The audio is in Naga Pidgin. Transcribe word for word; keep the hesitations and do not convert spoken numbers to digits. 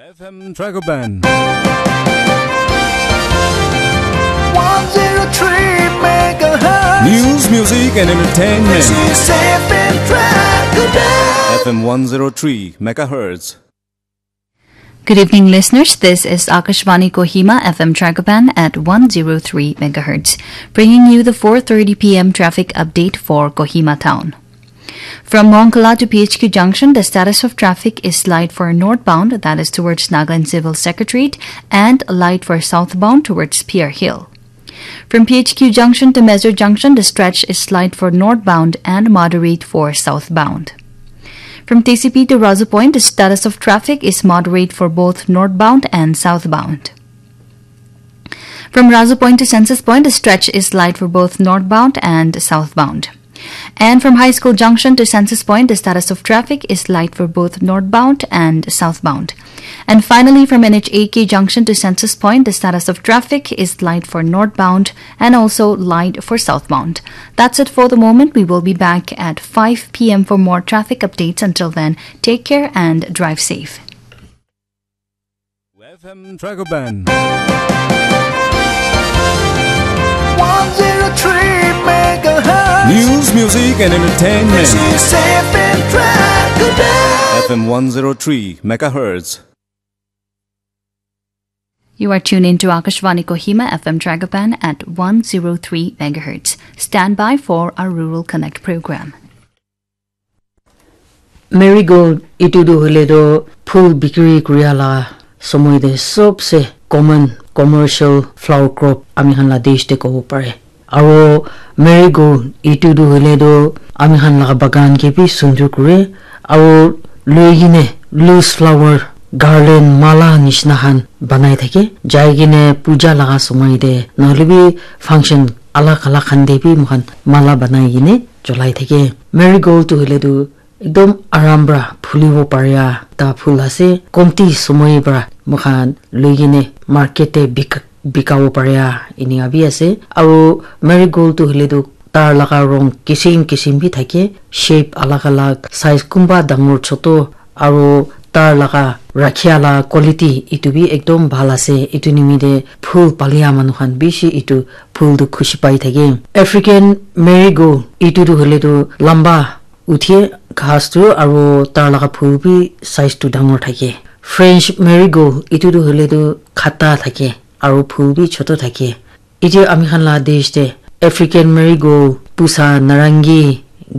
F M Dragoban. one zero three megahertz. News, music, and entertainment. This is F M Dragoban. F M one zero three megahertz. Good evening, listeners. This is Akashvani Kohima F M Dragoban at one zero three megahertz, bringing you the four thirty p m traffic update for Kohima town. From Mongkala to P H Q junction, the status of traffic is light for northbound, that is towards Nagaland Civil Secretariat, and light for southbound towards Pier Hill. From P H Q junction to Mezo junction, the stretch is light for northbound and moderate for southbound. From T C P to Razu Point, the status of traffic is moderate for both northbound and southbound. From Razu Point to Census Point, the stretch is light for both northbound and southbound. And from High School Junction to Census Point, the status of traffic is light for both northbound and southbound. And finally, from N H A K Junction to Census Point, the status of traffic is light for northbound and also light for southbound. That's it for the moment. We will be back at five p m for more traffic updates. Until then, take care and drive safe. F M Dragoban. one zero three megahertz. News, music, and entertainment. This is F M Dragoban. F M one zero three megahertz. You are tuned in to Akashvani Kohima F M Dragoban at one zero three megahertz. Stand by for our Rural Connect program. Marigold itu tu hoile tu phul bikri kuria la somoi te sobse common commercial flower crop ami khan la desh te kobo pare. Aro marigold itu tu hoile tu ami khan la bagan ke bi sundur kure. Aro loi kene loose flower garland mala nishina khan banai thake. Jai kene puja laga somoi te nohoile bi function alag alag khan te bi moikhan mala banai kene cholai thake. Marigold tu hoile tu ekdom aram para phulibo paria ta phul ase. Komti somoi para moikhan loi kene market te bik-, bikabo paria enika bi ase. Aro marigold tu hoile tu tar laga rong kisim kisim bi thake, shape alag alag, size kunba dangor choto, aro tar laga rakhia la quality itu bi ekdom bhal ase. Itu nimite phul palia manu khan bishi itu phul tu khushi pai thake. African marigold itu tu hoile tu lamba uthie ghas tu, aro tar laga phul bi size tu dangor thake. French marigold itu tu hoile tu khata thake aro phul bi choto thake. Itya ami khan la desh te African marigold, pusa, narangi,